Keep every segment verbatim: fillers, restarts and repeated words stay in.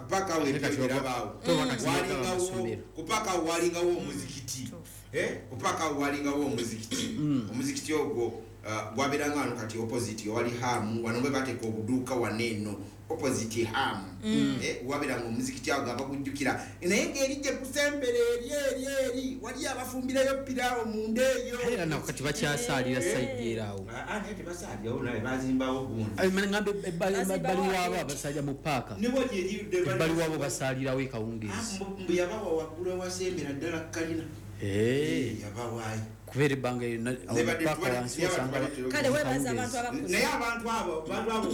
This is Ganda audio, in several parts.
Kupaka awo ebirabaawo walingawo, kupaka awo walingawo omuzikiti, kupaka awo walingawo omuzikiti. Omuzikiti ogwo gwabeeranga wano kati opposite wali hamu wano bwe bateeka obuduuka wano eno opposite hamu, wabeeranga omuzikiti awo gabagujjukira, naye ng'eri gye kusembera eri eri eri wali abafumbirayo piraawo munda eyo. Era nako kati bakyasaalira sayidi era awo. Naye tebasaalirawo, naye bazimbawo gundi. Ngambe ebbali waabo abasajja mu paaka, ebbali waabo basaalirawo ekawungeezi. Mbu yabawa waggulu awasembera ddala kalina. Yabawaayo kubeera ebbanga wansi osanga. Kale weebaza abantu abakuze. Naye abantu abo abantu abo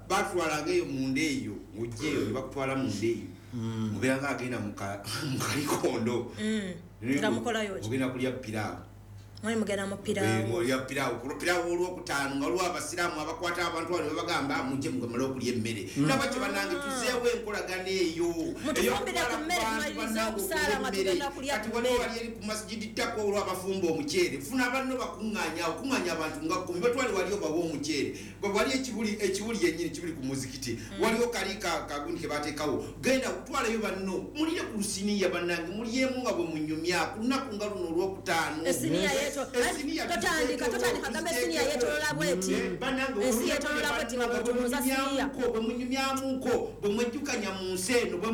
batwalanga eyo munda eyo, ng'ojja eyo ne bakutwala munda eyo, mubeera nga agenda mu kalikondo. Nga mukolayo ki? Ogenda kulya piraawo. Mwali mugenda mu piraawo. Olya piraawo, ku piraawo olwokutaano nga waliwo abasiraamu abakwata abantu bano babagamba mujje mugamale okulya emmere. Nabakyo bannange tuzeewo enkolagana eyo. Mutufumbire ku mmere tumalirize okusaala nga tugenda kulya ku mmere. Kati waliwo wali eri ku masjidi Takwa olwo abafumba omuceere. Funa banno bakuŋŋaanya, okuŋŋaanya abantu nga kkumi batwale wali obawe omuceere. Wali ekibuli, ekibuli yennyini kibuli ku muzikiti. Waliwo kali kagundi ke bateekawo. Genda kutwalayo banno, mulire ku lusiniya bannange, mulyemu nga bwe munyumya ku lunaku nga luno olwokutaano. Esiniya yeto totandika totandika gamba esiniya yeetolola bweti. Ensi yeetolola bweti nga bw'otunuuza siniya. Bwe munyumyamuko, bwe mwejjukanya mu nsi eno, bwe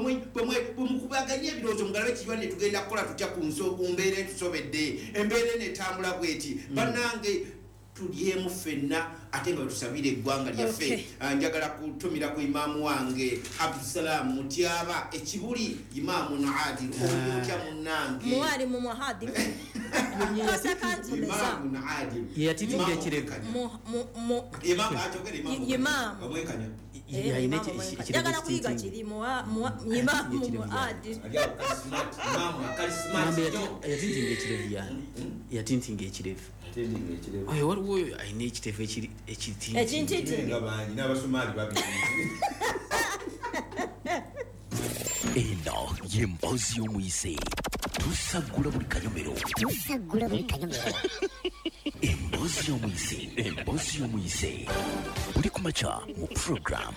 mukubaganya ebirowoozo mugalabe kiba ne tugenda kukola tutya ku nsi ku mbeera etusobedde. Embeera eno etambula bweti. Bannange tulyemu ffenna ate nga tusabire eggwanga lyaffe. Njagala kutumira ku imaamu wange Abdusalam Mutyaba ekibuli, imaamu Naadil otya munnange. Muwali mu muhadi. Imaamu Naadil yeyatitinga ekirevu. Imaamu akyogera imaamu omwenkanya. Njagala kuyiga kiri imaamu muadil. Yatintinga ekirevu yani. Yatintinga ekirevu. Oyo waliwo alina ekiteefu ekitintiti. Ekintiti. Nga bangi n'Abasomali babiri. Eno y'emboozi y'omuyise. Tusaggula buli kanyomero. Tusaggula buli kanyomero. Emboozi y'omuyise. Emboozi y'omuyise. Buli kumakya mu program.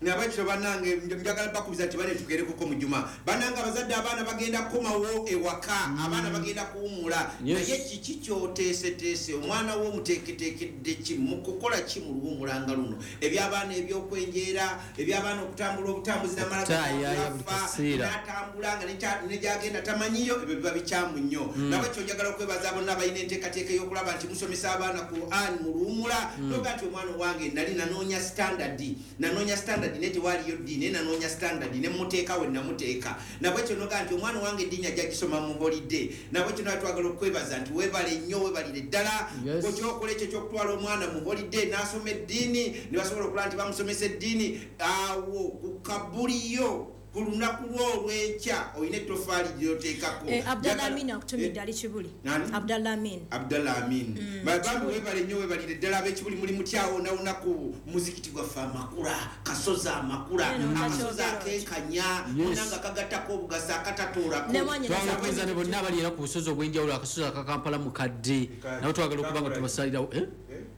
Nabakiro bannange njagala bakubiza nti bane tugerekoko mu Juma. Bannange abazadde abaana bagenda kukomawo ewaka, abaana bagenda kuwummula. Naye kiki ky'oteeseteese omwana wo omuteeketeekedde ki mu kukola ki mu luwummulanga luno? Eby'abaana ebyokwenjeera, eby'abaana okutambula obutambuzi n'amala n'atambula nga ne gy'agenda tamanyiyo, ebyo biba bikyamu nnyo. Nabakyo njagala okwebaza bonna abalina enteekateeka ey'okulaba nti musomesa abaana Qur'an mu luwummula. Noga nti omwana wange nali nanoonya standard, nanoonya standard nete waliyo ddiini nanoonya standard ne muteeka we namuteeka. Nabwekyo noga nti omwana wange eddiini ajja gisoma mu holiday. Nabwekyo nawe twagala okwebaza nti weebale nnyo, weebalire ddala. Okyokola ekyo eky'okutwala omwana mu holiday n'asoma eddiini ne basobola okulaba nti bamusomesa eddiini awo ku kabuliyo ku lunaku lwo olw'enkya olina ettofaali gy'oteekako. Abdallah Amin akutumidde ali Kibuli. Abdallah Amin. Abdallah Amin. Bambi weebale nnyo, weebalire ddala ab'ekibuli muli mutyawo nawunaku muzikiti gwaffe amakula, kasozi amakula, akasozi akenkanya, munanga kagattako obugasa akatatoolako. Twagala okubuuza ne bonna abali era ku busozi obw'enjawulo, akasozi aka Kampala mukadde, nabo twagala okuba nga tubasalirawo.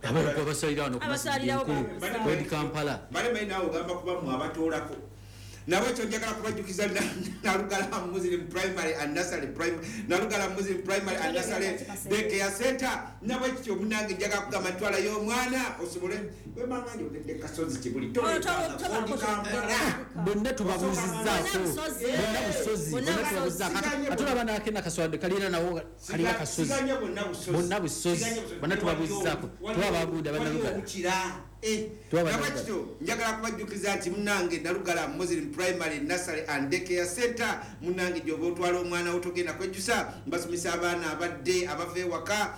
Abasalirawo wano ku masjidi enkulu Old Kampala. Bale naawe ogamba kuba mmwe abatoolako. Nabwekyo njagala kubajjukiza Nalugala Muslim Primary and Nursery Primary, Nalugala Muslim Primary and Nursery Daycare Center. Nabwekyo munnange njagala kugamba ntwalayo omwana osobole wemanga njogedde kasozi Kibuli. Bonna tubabuuzizzaako. Bonna busozi. Bonna tubabuuzizzaako. Ate olaba n'akena kaswadde kalina nawo kalina kasozi. Bonna busozi. Bonna tubabuuzizzaako. Tuba bagundi abannalugala. Nabwekyo njagala kubajjukiza nti munnange Nalugala Muslim Primary Nursery and Daycare Center munnange gy'oba otwala omwana wo togenda kwejjusa. Mbasomesa abaana abadde abava ewaka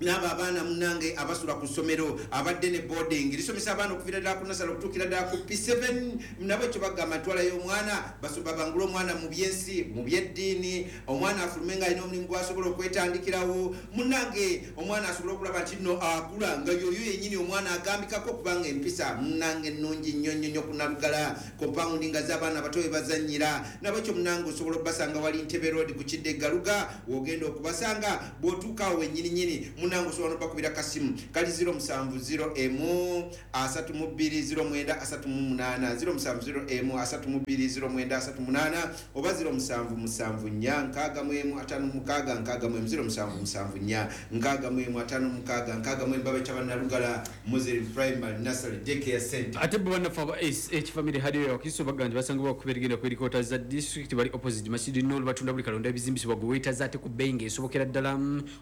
n'abo abaana munnange abasula ku ssomero abadde ne boarding. Lisomesa abaana okuviira ddala ku nursery okutuukira ddala ku P seven. Nabwekyo bagamba ntwalayo omwana, babangule omwana mu byensi, mu byeddiini, omwana afulume ng'alina omulimu gw'asobola okwetandikirawo. Munnange omwana asobole okulaba nti nno akula nga y'oyo yennyini omwana agambikako kubanga empisa munnange ennungi nnyo nnyo nnyo ku Nalugala compound nga z'abaana abato we bazannyira. Nabwekyo munnange osobola obbasanga wali Ntebe Road ku Kidde Galuga w'ogenda okubasanga bw'otuuka awo wennyini nnyini. Munange osobola nobakubira kasimu kali zero musanvu zero emu asatu mu bbiri zero mwenda asatu mu munaana zero musanvu zero emu asatu mu bbiri zero mwenda asatu munaana oba zero musanvu musanvu nnya nkaaga mu emu ataano mukaaga nkaaga mu emu zero musanvu musanvu nnya nkaaga mu emu ataano mukaaga nkaaga mu emu. Babaita Bannalugala Muslim Primary Nursery Daycare Center. Ate bo bannaffe aba S H Family Hardware Wakiso bagamba nti basangibwa okubeerigenda ku headquarters za district, bali opposite Masjid Nur, batunda buli kalonda ebizimbisibwa gwe weetaaza ate ku bbeeyi ng'esobokera ddala.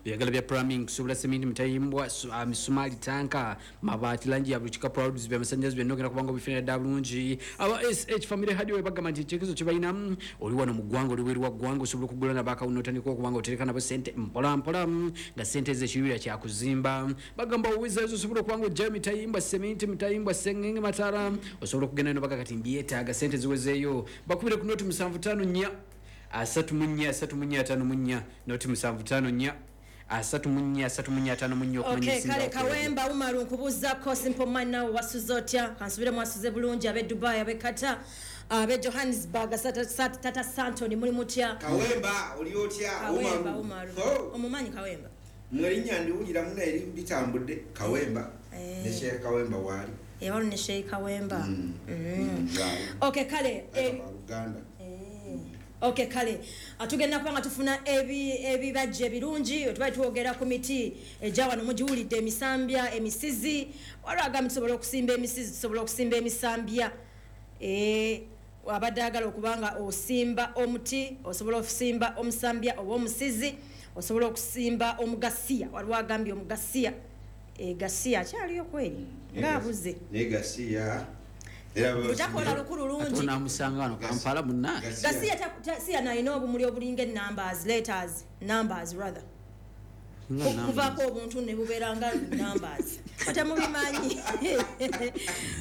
Oyagala bya plumbing, kusobola sementi, mitayimbwa, misumaali, tanka, mabaati, langi ya buli kika, products byamasannyalaze byonna ogenda kubanga obifunira ddala bulungi. Aba S H Family Hardware bagamba nti ekyekezo kye balina, oli wano mu ggwanga, oli bweru wa ggwanga, osobola okugula nabo akawunti n'otandika okuba nga otereka nabo ssente mpola mpola, nga ssente ezo ekiruubirira kya kuzimba. Bagamba owezayo osobola okuba nga oggyayo mitayimbwa, sementi, mitayimbwa, sengenge, mataala, osobola okugenda nobaga kati mbyetaaga ssente ziwezeeyo. Bakubire ku noti musanvu ttaano nnya asatu mu nnya asatu mu nnya ataano mu nnya, noti musanvu ttaano nnya asatu mu nnya asatu mu nnya ataano mu nnya okumanya Okay, ebisinga kale okubeera. Kawemba Umaru nkubuuzaako Simple Man, nawe wasuze otya? Kansubire mwasuze bulungi, ab'e Dubai, ab'e Qatar, ab'e Johannesburg, Tata Santoni, muli mutya? Kawemba oli otya? Kawemba Umaru Oh. omumanyi Kawemba? Mwerinnya ndiwulira muna eri litambudde Kawemba Eh. ne Sheikh Kawemba waali. Ewali ne Sheikh Kawemba. Mm. Mm. Waali. Okay, kale eh, Uganda. Okay, kale tugenda kuba nga tufuna ebibajja ebirungi. Tuba twogera ku miti ejja wano, mugiwulidde, emisambya, emisizi. Waliwo agambye tusobola okusimba emisizi, tusobola okusimba emisambya. Eh, abadde ayagala okuba nga osimba omuti, osobola okusimba omusambya oba omusizi, osobola okusimba omugasiya. Waliwo agambye omugasiya. Eh, gasiya akyaliyo kweri ngaabuze. Naye gasiya Utakola lukulu Ate lungi. onaamusanga wano Kampala munna. Gasiya siya nalina obumuli obulinga numbers, letters, numbers rather. Kuvaako obuntu ne bubeera nga numbers. Temubimanyi.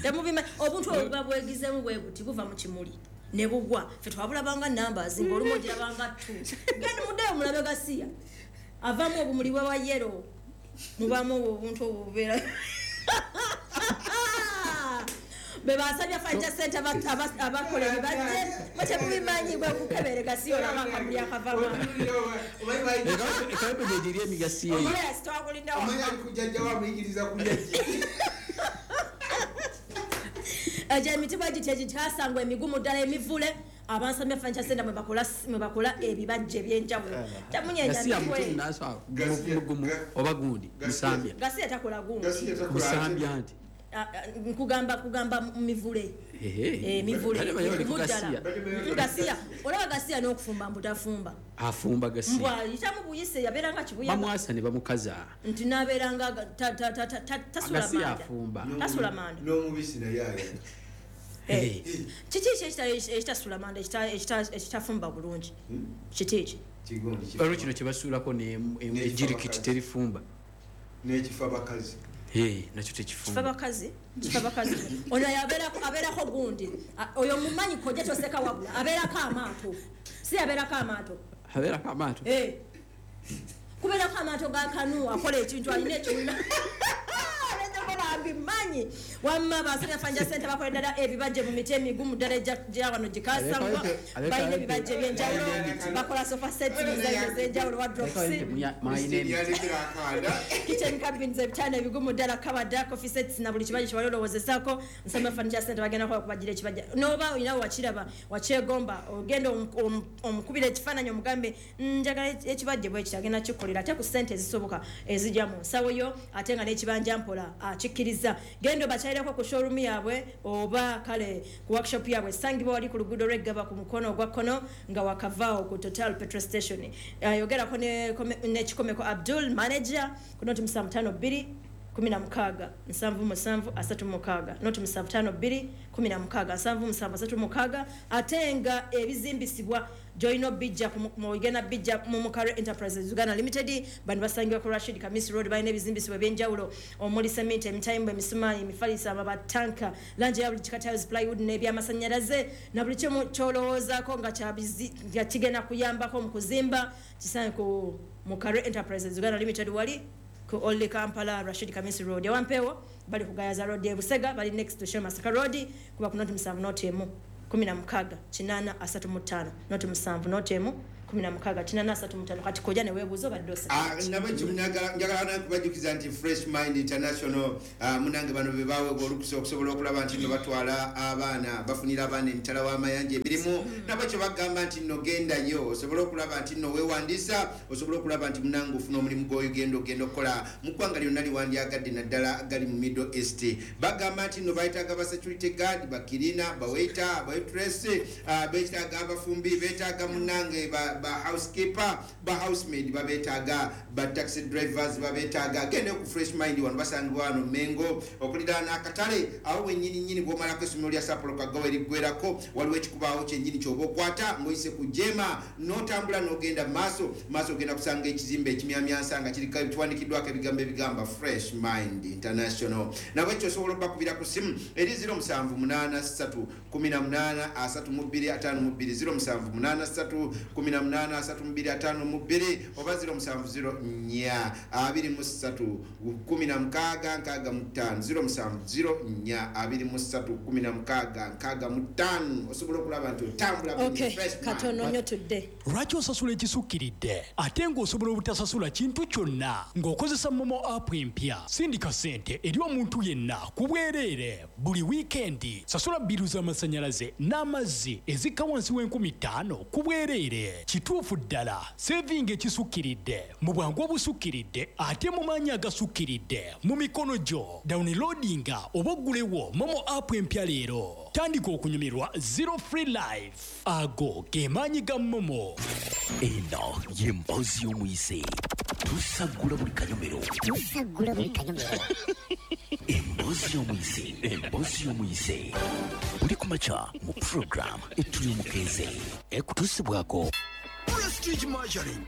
Temubimanyi. Obuntu obwo buba bwegizemu bwe buti, buva mu kimuli ne bugwa. Ffe twabulabanga numbers ng'olumu ogirabanga two. Genda muddeyo mulabe gasiya. Avaamu obumuli bwa yellow. Mubaamu obwo obuntu obwo bubeera. Be basabye Fanta Center abakola ebibajje, temubimanyi bwe kukebere gasiya olaba akamuli akavaamu. Ekawempe gye giri emigasiya eyo. Yes, twakulinda wa- Omanyi ali kujjajja we amuyigiriza kulya ki? Egyo emiti bwe gityo egitasangwa emigumu ddala emivule, abansamya Fanta Center mwe bakola mwe bakola ebibajje ebyenjawulo. Temunyenya Gasiya mitwe. muti munaaso mugumu oba gundi musambya. Gasiya takola gundi. Gasiya takola. Musambya nti. Ah, ah, nkugamba kugamba mivule. Ehe. Eh, mivule. Bale bayo bali ku Muddala. gasiya. Gasiya. Olaba gasiya n'okufumba mbu tafumba. Afumba gasiya. Mbwa ayitamu buyise yabeera nga kibuyaga. Bamwasa ne bamukaza. Nti n'abeera nga ta- ta- ta- ta- ta- tasula Gasiya manda. afumba. Tasula manda. N'omubisi naye aya. Eh. Kiki ki ekita- ekitasula manda, ekita- ekita- ekitafumba bulungi? Kiki ki? Kigundi kifa. Waliwo kino kye basuulako ne- em- ejirikiti terifumba. N'ekifa bakazi. Eh, nakyo Kifa tekifumba. bakazi, kifa bakazi. Ono yabeerako, abeerako gundi. A- Oyo mumanyi kojja toseka wabula. Abeerako amaato. Si abeerako amaato. Abeerako amaato. Eh. Kubeerako amaato ga kanu akola ekintu alina ekiwina. Mbimanyi. Wamma basabye Fanja Center bakola ddala ebibajje mu miti emigumu ddala ejja gya wano gikasangwa. Aleka- Balina ebibajje ebyenjawulo, bakola sofa sets design ez'enjawulo, wardrobes. Aleka muya- mwalina emiti. Yalekera akaana. Kitchen cabinets, ebitanda ebigumu ddala, kabada, coffee sets na buli kibajje kyewali olowoozezaako. Nsamba Furniture Center bagenda kuba kubagira ekibajja. N'oba olinawo wakiraba, wakyegomba, ogenda omu- omu- omukubira ekifaananyi omugambe, njagala ekibajje bwe kiti, agenda kikkolera ate ku ssente ezisoboka ezijja mu nsawo yo, ate nga n'ekibanja mpola akikkiriza. Genda obakyalireko ku showroom yaabwe oba kale ku workshop yaabwe esangibwa wali ku luguudo lw'eggaba ku mukono ogwa kkono nga wakavaawo ku Total petrol station. Ayogerako ne kome- ne Kikomeko Abdul manager ku noti musanvu ttaano bbiri kumi na mukaaga nsanvu musanvu asatu mukaaga, noti musanvu ttaano bbiri kumi na mukaaga nsanvu musanvu asatu mukaaga. Ate nga ebizimbisibwa gy'olina obijja ku mu- ogenda bijja mu Mukare Enterprises Uganda Limited. Bano basangibwa ku Rashid Kamis Road, balina ebizimbisibwa ebyenjawulo omuli sementi, emitayimbwa, emisumaali, emifaliso, amabatanka, langi ya buli kika, tiles, plywood n'ebyamasannyalaze na buli kimu ky'olowoozaako nga kyabizi- nga kigenda kuyambako mu kuzimba. Kisange ku Mukare Enterprises Uganda Limited wali ku Old Kampala Rashid Kamis Road. Ewampeewo bali ku Gayaza Road e Busega, bali next to Shell Masaka Road, kuba ku noti musanvu noti emu kumi na mukaaga kinaana asatu mu ttaano, noti musanvu noti emu kumi na mukaaga kinaana asatu mu ttaano. Kati kojja ne weebuuza obadde oseka. Ah, nabwekyo njagala njagala nakubajjukiza nti Fresh Mind International, ah, munange bano be baweebwa olukusa okusobola okulaba nti nno batwala abaana, bafunira abaana emitala w'amayanja emirimu. Nabwekyo bagamba nti nno gendayo osobole okulaba nti nno weewandiisa, osobole okulaba nti munange ofuna omulimu gw'ogenda ogenda okukola mu ggwanga lyonna liwandyagadde, naddala gali mu Middle East. Bagamba nti nno bayetaaga ba security guard, ba cleaner, ba waiter, ba waitress, ah, beetaaga abafumbi, beetaaga munange ba, ba housekeeper, ba housemaid, babeetaaga ba taxi drivers, babeetaaga. Genda ku Fresh Mind wano basangibwa wano Mengo okuliraana akatale awo wennyini nnyini bw'omalako essomero lya Sapolo Kagawa eriggwerako, waliwo ekikubaawo kyennyini ky'oba okwata ng'oyise ku Jema n'otambula n'ogenda mu maaso maaso, ogenda kusanga ekizimbe ekimyamyansa nga kiriko kiwandikiddwako ebigambo ebigamba Fresh Mind International. Nabwekyo osobola okubakubira ku ssimu eri ziro musanvu munaana ssatu kumi na munaana asatu mu bbiri ataano mu bbiri, ziro musanvu munaana ssatu kumi na munaana asatu mu bbiri ataano mu bbiri, oba ziro musanvu ziro nnya abiri mu ssatu kumi na mukaaga nkaaga mu ttaano, ziro musanvu ziro nnya abiri mu ssatu kumi na mukaaga nkaaga mu ttaano. Osobola okulaba nti otambula ku Okay, Fresh Mind. Katono nnyo tudde. Lwaki osasula ekisukkiridde ate ng'osobola obutasasula kintu kyonna ng'okozesa MoMo app empya? Sindika ssente eri omuntu yenna ku bwereere buli wiikendi. Sasula bbiiru z'amasannyalaze n'amazzi ezikka wansi w'enkumi ttaano ku bwereere. Kituufu ddala, sevinga ekisukkiridde mu bwangu obusukkiridde ate mu maanyi agasukkiridde mu mikono gyo. Downloadinga oba oggulewo MoMo app empya leero. Tandika okunyumirwa zero free life. Ago ge maanyi ga MoMo. Eno ye mboozi y'omuyise. Tusaggula buli kanyomero. Tusaggula buli kanyomero. Emboozi y'omuyise. Emboozi y'omuyise. Buli ku makya mu program Etuli Omukeeze. Ekutuusibwako Prestige Margarine.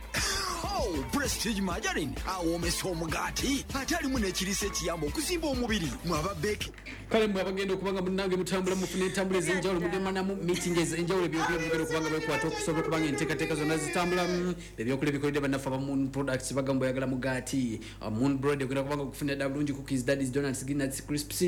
Oh, Prestige Margarine awoomesa omugaati ate alimu n'ekiriisa ekiyamba okuzimba omubiri. Mwaba beki Kale mwe abagenda okuba nga munnange mutambula mufuna entambula ez'enjawulo, mugemanamu meeting ez'enjawulo, ebyokulya mugenda okuba nga bekwata okusobola okuba nga enteekateeka zonna zitambula. mm, ebyokulya bikoledde bannaffe aba Moon Products. Bagamba oyagala mugaati, uh, Moon Bread, ogenda kuba nga okufunira ddala bulungi cookies, daddies, donuts, nuts, crisps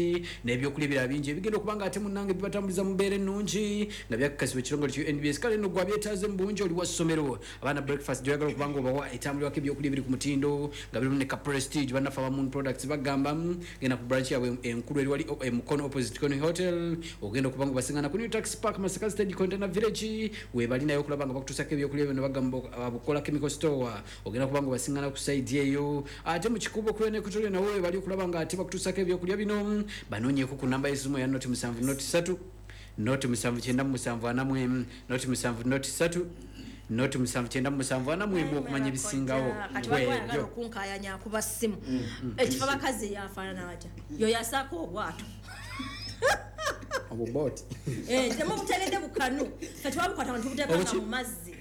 n'ebyokulya ebirala bingi ebigenda okuba nga ate munnange bibatambuliza mu mbeera ennungi nga byakakasibwa ekitongole ki U N B S. Kale nno gwa byetaaze mu bungi, oli wa ssomero, abaana breakfast gy'oyagala okuba nga obawa etambulirwako ebyokulya ebiri ku mutindo nga birimu ne ka Prestige, bannaffe aba Moon Products bagamba mm, genda ku branch yaabwe enkulu eri wali o- e Mukono opposite Koni Hotel, ogenda okuba nga basingana ku New Taxi Park, Masaka Stage, Container Village webali nayo okulaba nga bakutuusako ebyokulya bino. Bagamba abukola Chemical Store, ogenda kuba nga basingana ku side eyo. Ate mu Kikubo ku Equatorial nawo webali okulaba nga ate bakutuusako ebyokulya bino. Banoonyeeko ku namba y'essimu ya noti musanvu noti ssatu noti musanvu kyenda mu musanvu ana mu emu, noti musanvu noti ssatu noti musanvu kyenda mu musanvu ana mu emu okumanya ebisingawo. Kati waliwo ayagala Bwebyo. okunkayanya akuba ssimu. Ekifo bakazi yafaanana atya? Yo yasaako obwato. Obubooti. Eh, temubutegedde bukanu. Kati wabukwata nga tubuteekanga Obuki? mu mazzi,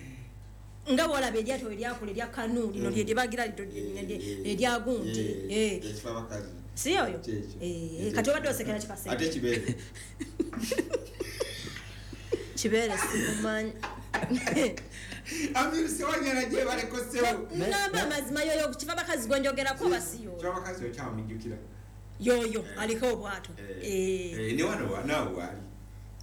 nga bwolaba eryato eryakula erya kanu lino lye lyebagira erya gundi. Eh, Ekifa bakazi. Si oyo? Kyekyo. Eh, kati obadde osekera kikase. Ate kibeere. Kibeere sikumanyi. Amiru Sewanyana gye baleko ssebo. Ngamba amazima, yoyo kifa bakazi gwe njogerako oba si yoyo? Kifa bakazi okyamujjukira. Yoyo aliko obwato. Eh. Eh, ne wano wa- naawe waali.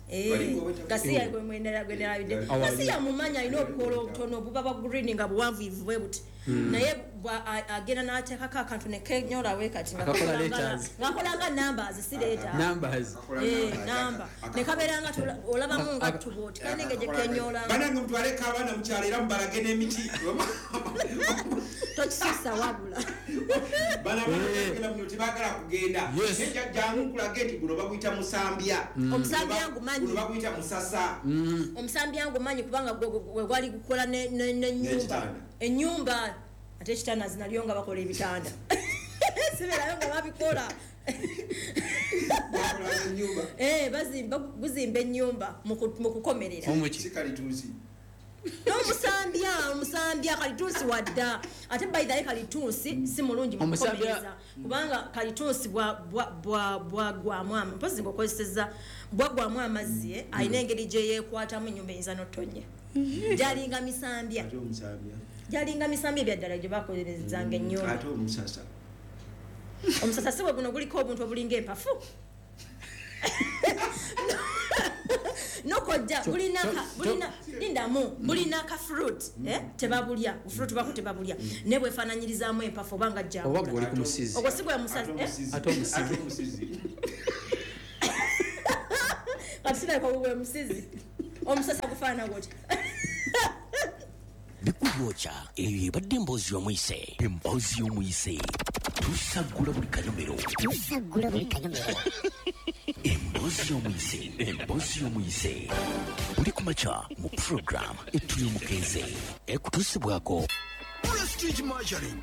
Eh, Walinga obweta- gasiya gwe mwenderabidde. Awali. Gasiya mumanya alina obukola obutono obuba bwa green nga buwanvuivu bwe buti, naye bwa- a- agenda n'ateekako akantu ne kenyolawe kati nga Akakola kakola nga- letters. ngakola nga numbers, si letters. Numbers. Eh, namba ne kabeera nga tola- olabamu nga Aka- tubooti kalina engeri gye kenyolamu. Banange mutwaleko abaana mukyalo era mubalage n'emiti. Tokisusa wabula. Bano abaana bagenda muno tebagala kugenda. Yes. Naye jangu nkulage nti guno baguyita musambya. Omusambya ngumanyi. Guno baguyita musasa. Omusambya ngumanyi kubanga gwe- gwe gwe gwali gukola ne- ne- n'ennyumba. N'ekitanda. Ennyumba ate ekitanda zinalyo nga bakola ebitanda, sibeerayo nga babikola. Bakola ennyumba. Eh, bazimba guzimba ennyumba mu ku- mu kukomerera. Omuki? Si kalituusi. N'omusambya, omusambya kalituusi wadda ate baithaye kalituusi si mulungi mu Omusambya- kukomereza kubanga kalituusi bwa- bwa- bwa- bwagwamu ama- mpozi ngaokozeseza bwagwamu amazzi, eh, alina engeri gye yeekwatamu ennyumba eyinza notonnya. Gyalinga misambya. Ate omusambya. Gyalinga misambya ebyaddala gye bakolerezanga ennyumba. Ate omusasa. Omusasa si bwe guno guliko obuntu obulinga empafu? Nokojja bulina bulina lindamu bulina ka fruit eh tebabulya fruit bako tebabulya ne bwefananyirizaamu empafu obanga jja oba goli ku musizi ogwo sigwa musazi ate omusizi katisina ko gwe musizi omusasa kufaana gotya bikubyocha eyo ebadde emboozi y'omuyise emboozi y'omuyise tusagula buli kanyomero tusagula buli kanyomero emboozi y'omuyise emboozi y'omuyise buli kumakya mu program etuli omukeeze ekutuusibwako Prestige Margarine.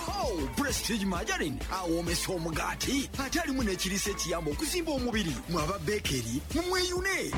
Oh, Prestige Margarine awoomesa omugaati ate alimu n'ekiriisa ekiyamba okuzimba omubiri. Mwaba bekeri mumweyune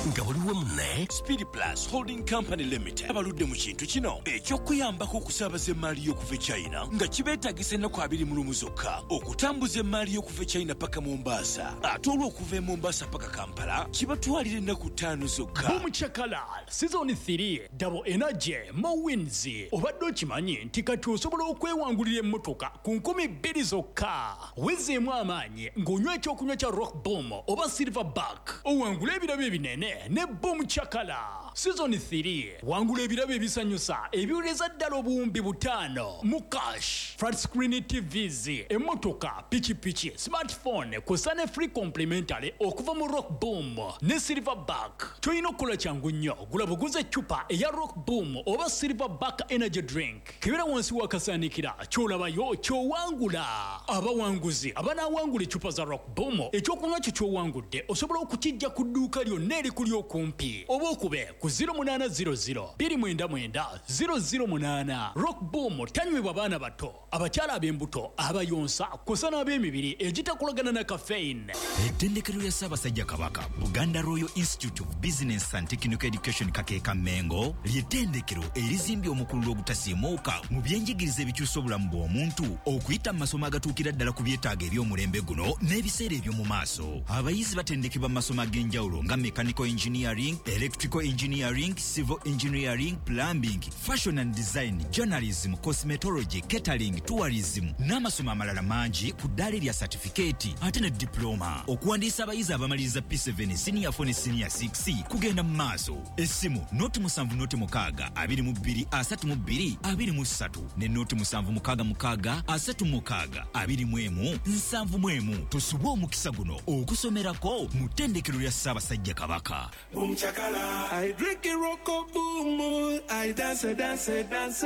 nga waliwo munne Speed Plus Holding Company Limited abaludde mu kintu kino eky'okuyambako okusaabaza emmaali y'okuva e China nga kibeetagisa ennaku abiri mu lumu zokka okutambuza emmaali y'okuva e China paka Mombasa ate olw'okuva e Mombasa paka Kampala kibatwalira ennaku ttaano zokka. Boom Chakala Season three Double Energy Mo Wins obadde okimanyi nti kati osobola okwewangulira emmotoka ku nkumi bbiri zokka. Wezeemu amaanyi ng'onywa ekyokunywa kya Rock Boom oba Silverback owangula ebirabo ebinene ne Boom Chakala Season three wangula ebirabo ebisanyusa ebiwereza ddala obuwumbi butaano mu cash, flat screen T Vs, emmotoka, pikipiki, smartphone kw'ossa ne free complimentary okuva mu Rock Boom ne Silverback. Ky'olina okukola kyangu nnyo, gula buguze eccupa eya Rock Boom oba Silverback Energy Drink kebera wansi w'akasaanikira ky'olabayo ky'owangula. Abawanguzi abanaawangula eccupa za Rock Boom ekyokunywa kyo ky'owangudde osobola okukijja ku dduuka lyonna erikuli okumpi oba okube ku zero munaana zero zero bbiri mwenda mwenda zero zero munaana. Rock Boom tanywebwa baana bato, abakyala ab'embuto, abayonsa kw'ossa n'ab'emibiri egitakolagana na caffeine. Ettendekero lya Ssaabasajja Kabaka Buganda Royal Institute of Business and Technical Education Kakeeka Mmengo ly'ettendekero erizimbye omukululo ogutasiimuuka mu byenjigiriza ebikyusa obulamu bw'omuntu okuyita mu masomo agatuukira ddala ku byetaago eby'omulembe guno n'ebiseera eby'omu maaso. Abayizi batendekebwa mu masomo ag'enjawulo nga mechanical engineering, electrical engineering, civil engineering, plumbing, fashion and design, journalism, cosmetology, catering, tourism n'amasomo amalala mangi ku ddaala erya certificate ate ne diploma. Okuwandiisa abayizi abamaliriza P seven, senior four ne senior six kugenda mu maaso. Essimu noti musanvu noti mukaaga abiri mu bbiri asatu mu bbiri abiri mu ssatu ne noti musanvu mukaaga mukaaga asatu mukaaga abiri mu emu nsanvu mu emu. Tosubwa omukisa guno okusomerako mu ttendekero lya Ssaabasajja Kabaka. Boom chakala, I drink it roko boom, I dance dance dance.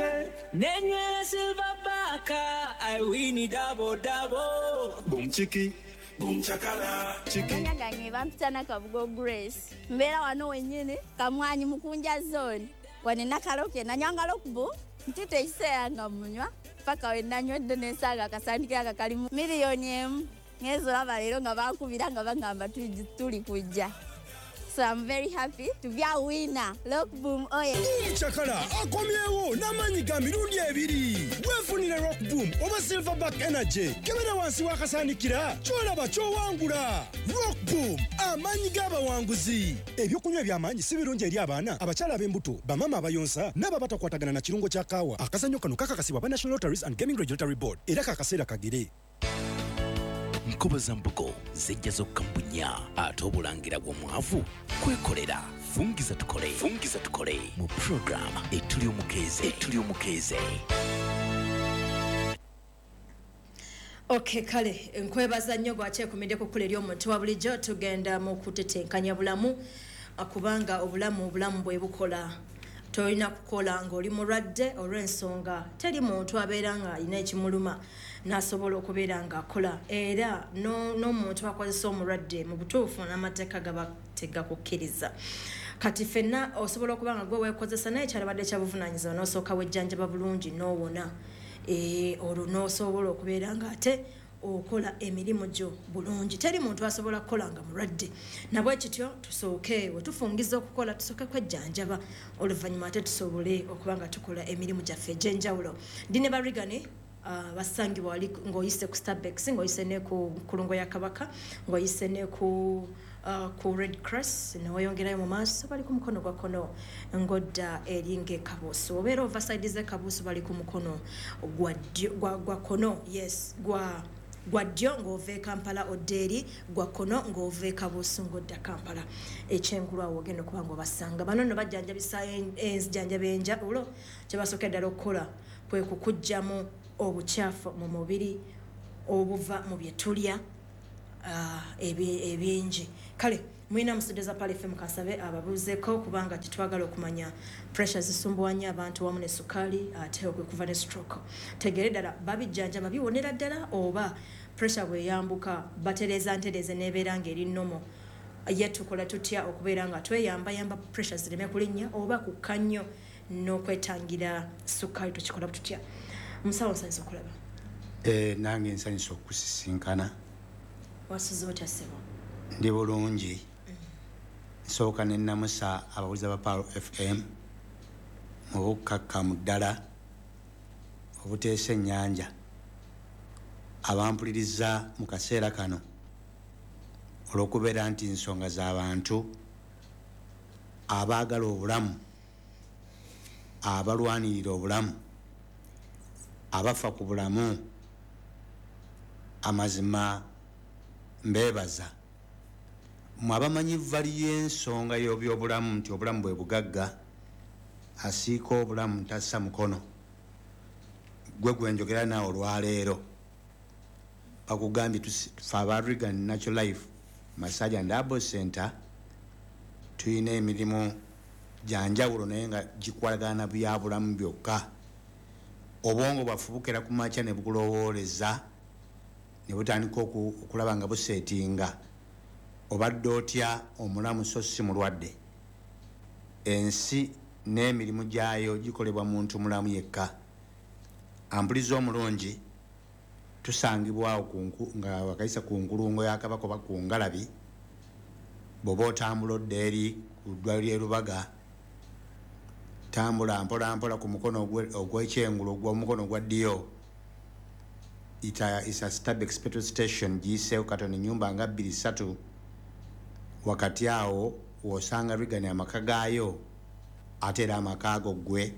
Nenywera silver baka, I win it double double. Boom chiki, boom chakala, chiki. Gange bampita Nakabugo Grace. Mbeera wano wennyini Kamwanyi Mukunja zone. Wane nakaloke nanywanga lokubu ntite ekiseera nga munywa paka we nanywedde n'ensaaga akasandikira nga kalimu miliyoni emu. Ngenze olaba leero nga bankubira nga bangamba tuli kujja. So I'm very happy to be a winner. Rock Boom, oh yeah. Boom Chakala akomyewo n'amaanyi ga mirundi ebiri. Weefunire Rock Boom oba Silverback Energy. Kebera wansi w'akasaanikira ky'olaba ky'owangula. Rock Boom amaanyi g'abawanguzi. Ebyokunywa eby'amaanyi si birungi eri abaana, abakyala ab'embuto, bamaama abayonsa n'abo abatakwatagana na kirungo kya kaawa. Akazannyo kano kakakasibwa aba National Lotteries and Gaming Regulatory Board era kakaseera kagere. Nkoba za mbugo zijja zokka mu bunnya ate obulangira bw'omwavu kwekolera. Fungiza tukole, fungiza tukole mu program etuli omukeeze, etuli omukeeze. Okay, kale nkwebaza nnyo gwakyekumiddeko kukula eri omuntu wa bulijjo. Tugenda mu kutetenkanya bulamu kubanga obulamu obulamu bwe bukola. Tolina kukola ng'oli mulwadde olw'ensonga teri muntu abeera nga alina ekimuluma n'asobola okubeera ng'akola, era n'omuntu akozesa omulwadde mu butuufu n'amateeka gaba tegakukkiriza. Kati ffenna osobola okuba nga gwe weekozesa naye kyalabadde kyabuvunaanyizibwa n'osooka wejjanjaba bulungi n'owona, olwo n'osobola okubeera ng'ate okola emirimu gyo bulungi. Teri muntu asobola kukola nga mulwadde, nabwe kityo tusooke we tufungiza okukola tusooke kwejjanjaba oluvannyuma ate tusobole okuba nga tukola emirimu gyaffe egy'enjawulo. Ndi ne Barigani uh, basangibwa wali ng'oyise ku Starbucks, ng'oyise ne ku Nkulungo ya Kabaka, ng'oyise ne ku Uh, ku Red Cross, neweyongerayo mu maaso bali ku mukono gwa kkono ng'odda eri ng'ekabuusu, obeera ova side z'ekabuusu bali ku mukono gwa gwa, gwa kkono, yes, gwa Gwa ddyo ng'ova e Kampala odda eri, gwa kkono ng'ova e Kabuusu ng'odda Kampala. Ekyenkulu awo ogenda okuba ng'obasanga. Bano nno bajjanjabisa enzijanjaba enjawulo. Kye basooka ddala okukola kwe kukuggyamu obukyafu mu mubiri obuva mu bye tulya ebingi. Kale mwina musudde za Pearl F M, kansabe ababuuzeeko kubanga tetwagala okumanya pressure zisumbuwa nnyo abantu wamu ne sukaali ate okwekuva ne stroke. Tegere ddala babijjanjaba biwonera ddala oba pressure bweyambuka batereeza ntereeze n'ebeera ng'eri nnomo. Ye tukola tutya okubeera nga tweyambayamba pressure zireme kulinnya oba kukka nnyo n'okwetangira sukaali, tukikola tutya? Musawo, nsanyusa okulaba. Eh, nange nsanyusa okusisinkana. Wasuze otya ssebo? Ndi bulungi. Nsooka ne nnamusa abawuliza ba Pearl F M mu bukkakkamu ddala obuteesa ennyanja, abampuliriza mu kaseera kano olw'okubeera nti nsonga z'abantu abaagala obulamu, abalwanirira obulamu, abafa ku bulamu. Amazima mbeebaza mmwe abamanyi vali y'ensonga y'obyobulamu nti obulamu bwe bugagga, asiika obulamu tassa mukono. Gwe gwe njogera naawe olwaleero bakugambye tufe aba Reagan Natural Life Massage and Herbal Center tulina emirimu gya njawulo naye nga gikwatagana bya bulamu byokka. Obwongo bwaffe bukera ku makya ne bukulowooleza ne butandika okulaba nga buseetinga obadde otya omulamu so si mulwadde. Ensi n'emirimu gyayo gikolebwa muntu mulamu yekka. Ampuliza omulungi, tusangibwawo nga wakayisa ku nkulungo ya Kabaka oba ku ngalabi. Bw'oba otambula odda eri ku ddwaliro ly'e Lubaga, tambula mpola mpola ku mukono ogw'ekyengulu ogw'omukono ogwa ddyo, isa Stabex petrol station, giyiseewo katono ennyumba nga bbiri ssatu. Wakati awo w'osanga Reagan amaka gaayo, ate era amaka ago ggwe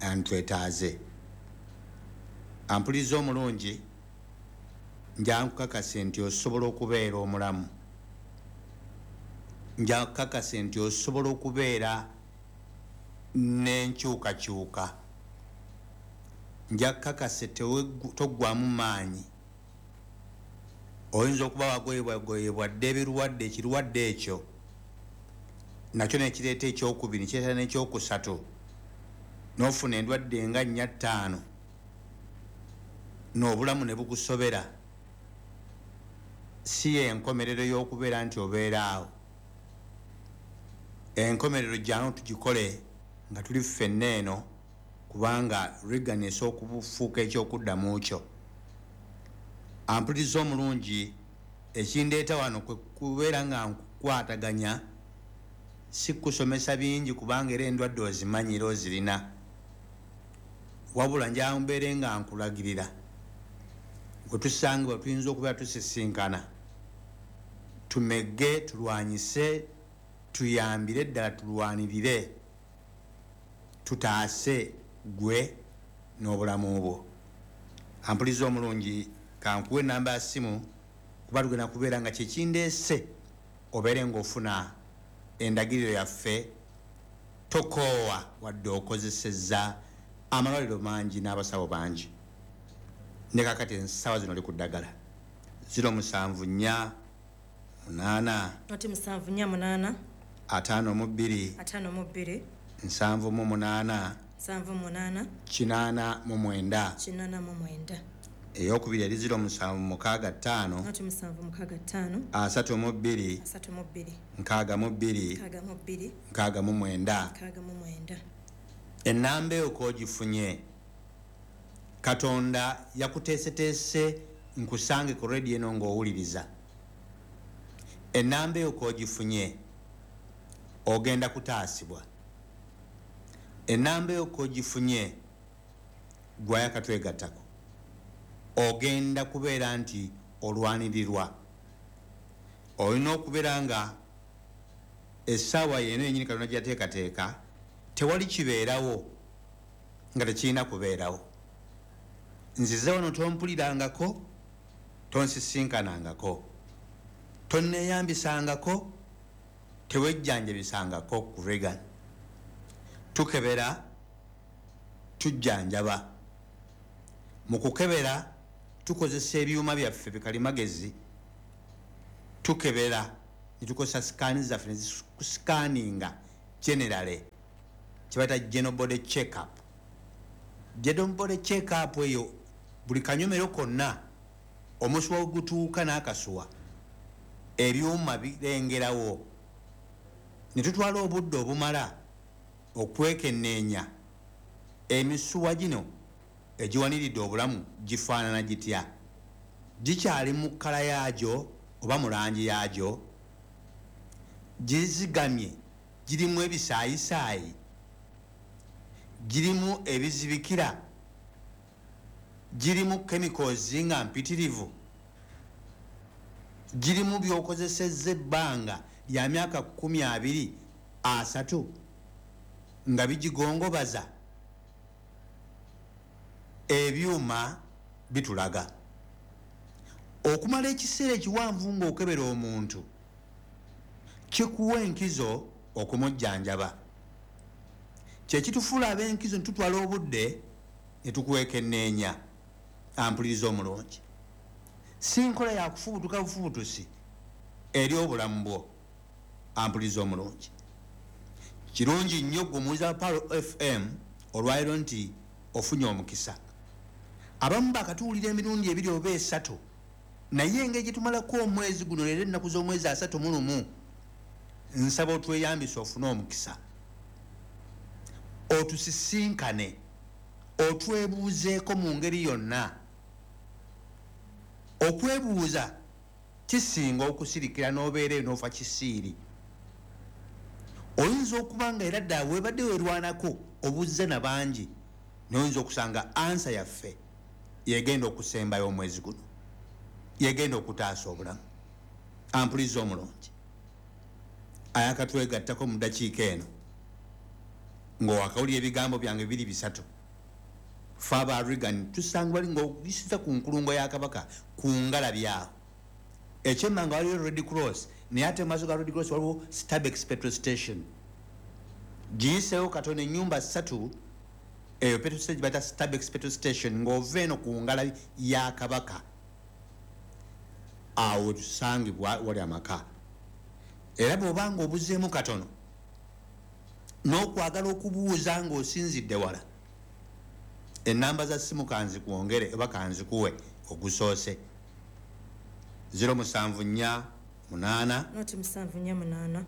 antwetaaze. Ampuliza omulungi, nja nkukakase nti osobola okubeera omulamu, nja nkukakase nti osobola okubeera n'enkyukakyuka, nja kukakase toggwamu maanyi. Oyinza okuba wagoyebwagoyebwa dda ebirwadde, ekirwadde ekyo nakyo nekireeta ekyokubiri, nekireeta n'ekyokusatu, n'ofuna endwadde nga nnya ttaano n'obulamu ne bukusobera. Si enkomerero y'okubeera nti obeera awo. Enkomerero jangu tugikole nga tuli ffenna eno, kubanga Reagan esooka okufuuka ekyokuddamu kyo. Ampuliza omulungi, ekindeeta wano kwe kubeera nga nkukwataganya, si kusomesa bingi kubanga era endwadde ozimanyi era ozirina, wabula nja mbeere nga nkulagirira we tusangibwa tuyinza okubeera tusisinkana, tumegge, tulwanyise, tuyambire ddala, tulwanirire, tutaase gwe n'obulamu bwo. Ampuliza omulungi, kankuwe ennamba ya ssimu kuba tugenda kubeera nga kyekindeese obeere ng'ofuna endagiriro yaffe. Tokoowa wadde okozesezza amalwaliro mangi n'abasawo bangi. Ne kakati ensaawa zino oli ku ddagala ziro musanvu nnya munaana ati musanvu nnya munaana ataano mu bbiri ataano mu bbiri nsanvu mu munaana nsanvu mu munaana kinaana mu mwenda kinaana mu mwenda. Eyokubiri eri ziro musanvu mukaaga ttaano ati musanvu mukaaga ttaano asatu mu bbiri asatu mu bbiri nkaaga mu bbiri nkaaga mu bbiri nkaaga mu mwenda nkaaga mu mwenda. Ennamba eyo k'ogifunye, Katonda yakuteeseteese nkusange ku rediyo eno ng'owuliriza. Ennamba eyo k'ogifunye ogenda kutaasibwa. Ennamba eyo k'ogifunye gwaya katwegattako, ogenda kubeera nti olwanirirwa. Olina okubeera nga essaawa yeno yennyini Katonda gyateekateeka, tewali kibeerawo nga tekirina kubeerawo. Nzize wano tompulirangako, Tonsisinkanangako, tonneeyambisangako, tewejjanjabisangako ku Reagan. Tukebera, tujjanjaba. Mu kukebera tukozesa ebyuma byaffe bikalimagezi. Tukebera ne tukozesa sikaani zaffe ne zisikaninga generally, kye bayita general body check up. General body check up eyo buli kanyomero konna omusuwa ogutuuka n'akasuwa ebyuma birengerawo, ne tutwala obudde obumala okwekenneenya emisuwa gino egiwaniridde obulamu gifaanana gitya, gikyali mu kkala yaagyo oba mu langi yaagyo, gizigamye, girimu ebisaayisaayi, girimu ebizibikira, girimu chemicals nga mpitirivu, girimu by'okozesezza ebbanga lya myaka kkumi abiri asatu nga bigigongobaza. Ebyuma bitulaga. Okumala ekiseera ekiwanvu ng'okebera omuntu kikuwa enkizo okumujjanjaba. Kyekitufuula ab'enkizo ntutwala obudde ne tukwekenneenya. Ampuliriza omulungi, si nkola ya kufubutuka bufubutusi eri obulamu bwo. Ampuliriza omulungi, kirungi nnyo gwe omuwuliza wa Pearl F M olwaleero nti ofunye omukisa. Abamu bakatuwulira emirundi ebiri oba esatu, naye engeri gye tumalako omwezi guno leero ennaku z'omwezi asatu mu lumu, nsaba otweyambise ofune omukisa, otusisinkane, otwebuuzeeko mu ngeri yonna. Okwebuuza kisinga okusirikira n'obeera eyo n'ofa kisiiri. Oyinza okuba nga era ddala weebadde weerwanako obuzze na bangi, n'oyinza okusanga ansa yaffe yegenda okusembayo omwezi guno, yegenda okutaasa obulamu. Ampuliza omulungi ayakatwegattako mu ddakiika eno ng'owakawulira ebigambo byange biri bisatu. Faba Reagan tusanga bali ng'ogisiza ku nkulungo ya Kabaka ku ngalabi awo ekyemmanga waliyo Red Cross, naye ate mu maaso ga Red Cross waliwo Starbucks petrol station. Giyiseewo katono ennyumba ssatu, eyo petrol station bayita Starbucks petrol station, ng'ova eno ku ngalabi ya Kabaka awo tusangibwa wali amaka. Era bw'obanga obuzeemu katono n'okwagala okubuuza ng'osinzidde wala, ennamba za ssimu kanzikuwongere oba kanzikuwe ogusoose: zero musanvu nnya munaana noti musanvu nnya munaana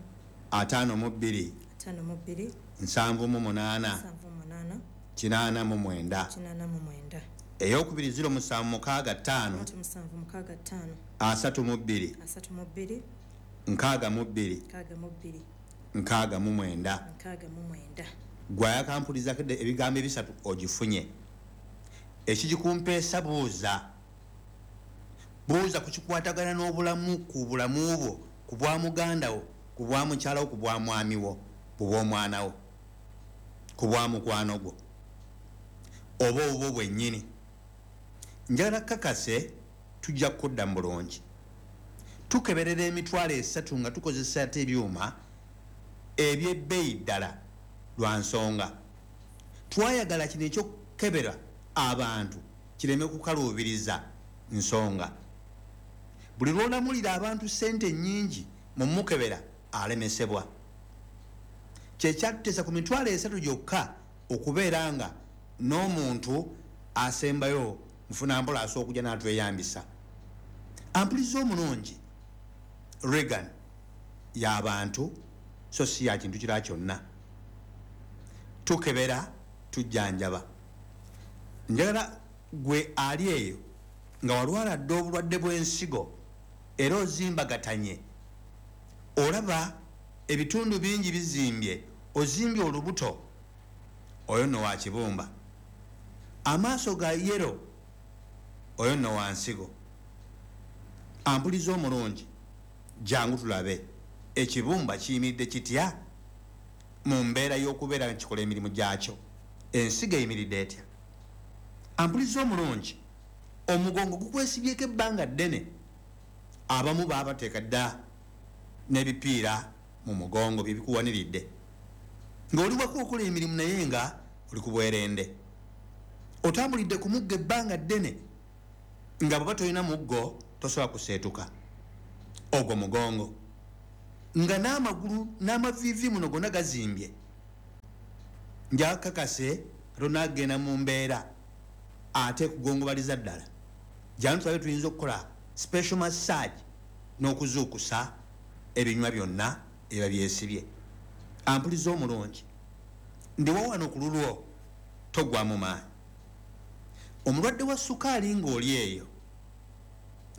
ataano mu bbiri ataano mu bbiri nsanvu mu munaana nsanvu mu munaana kinaana mu mwenda kinaana mu mwenda. Eyokubiri zero musanvu mukaaga ttaano noti musanvu mukaaga ttaano asatu mu bbiri asatu mu bbiri nkaaga mu bbiri nkaaga mu bbiri nkaaga mu mwenda nkaaga mu mwenda. Gwe ayakampuliza ebigambo ebisatu ogifunye. Ekigikumpeesa buuza, buuza ku kikwatagana n'obulamu, ku bulamu bwo, ku bwa muganda wo, ku bwa mukyala wo, ku bwa mwami wo, ku bw'omwana wo, ku bwa mukwano gwo, oba obwo bwennyini. Njagala kakase tujja kudda mu bulungi. Tukeberera emitwalo esatu nga tukozesa ate ebyuma eby'ebbeeyi ddala lwa nsonga. Twayagala kino ekyokukebera abantu kireme kukaluubiriza nsonga. Buli lw'olamulira abantu ssente nnyingi mu mukebera alemesebwa. Kyekyatuteesa ku mitwalo esatu gyokka okubeera nga n'omuntu asembayo nfunampola asobola okujja n'atweyambisa. Ampuliza omulungi, Reagan y'abantu so si ya kintu kirala kyonna. Tukebera, tujjanjaba. Njagala gwe ali eyo nga walwala dda obulwadde bw'ensigo era ozimbagatanye, olaba ebitundu bingi bizimbye, ozimbye olubuto, oyo nno wa kibumba. Amaaso ga yero, oyo nno wa nsigo. Ampuliza omulungi, jangu tulabe ekibumba kiyimiridde kitya mu mbeera y'okubeera nga kikola emirimu gyakyo. Ensigo eyimiridde etya? Ampuliza omulungi, Omugongo gukwesibyeko ebbanga ddene, abamu baabateeka dda n'ebipiira mu mugongo byebikuwaniridde, ng'oli wako okola emirimu naye nga oli ku bwerende. Otambulidde ku muggo ebbanga ddene, nga bw'oba tolina muggo tosobola kuseetuka. Ogwo mugongo. Nga n'amagulu n'amaviivi muno gonna gazimbye. Njakakase tonagenda mu mbeera ate kugongobaliza ddala. Jangu tulabe tuyinza okukola special massage n'okuzuukusa ebinywa byonna ebiba byesibye. Ampuliza omulungi, ndiwo wano ku lulwo, togwa mu maanyi. Omulwadde wa sukaali ng'oli eyo,